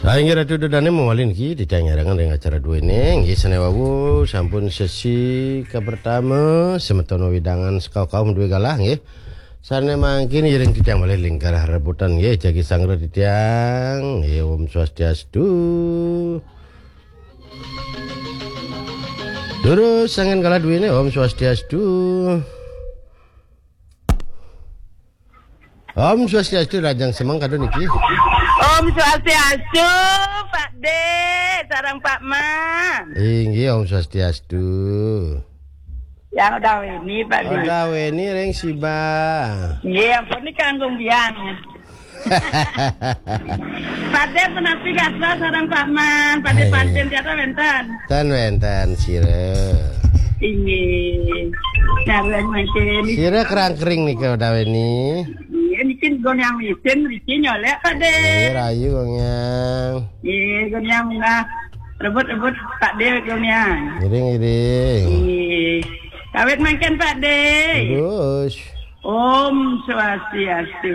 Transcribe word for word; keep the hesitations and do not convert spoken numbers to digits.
Sainggih Ratu Dodane mawali niki titiang nyarengan ring acara duene. Nggih, sane wau sampun sesi kapertama, semeton wewidangan sekaukaum duwe galah, nggih. Sane mangkin iring titiang malih lingkar rebutan, nggih, jagi sanggra titiang. Nggih, Om Swastiastu. Durus sanggen galah duene, Om Swastiastu. Om Swastiastu, rahajeng semeng kadun niki. Om Swastiastu, Pak De, sareng Pak Man. Inggih, Om Swastiastu. Yang udah ini, Pak De. Udah ini ring Siba. Nggih, ampun, ini kanggung biang. Pak De, punapi gatra sareng Pak Man? Pak De, hai, pancen tiada wenten. Ten wenten, sira. Inggih. Sareng mangkin. Sira kerang kering nika udah ini. Iya, niki goniang mesin, niki nyolek, Pak De. Iya, rayu goniang. Iya, goniang munggah. Rebut-rebut, Pak De, goniang. Ngiring, ngiring. Iya. Kawit mangkin, Pak De. Terus. Om Swastiastu.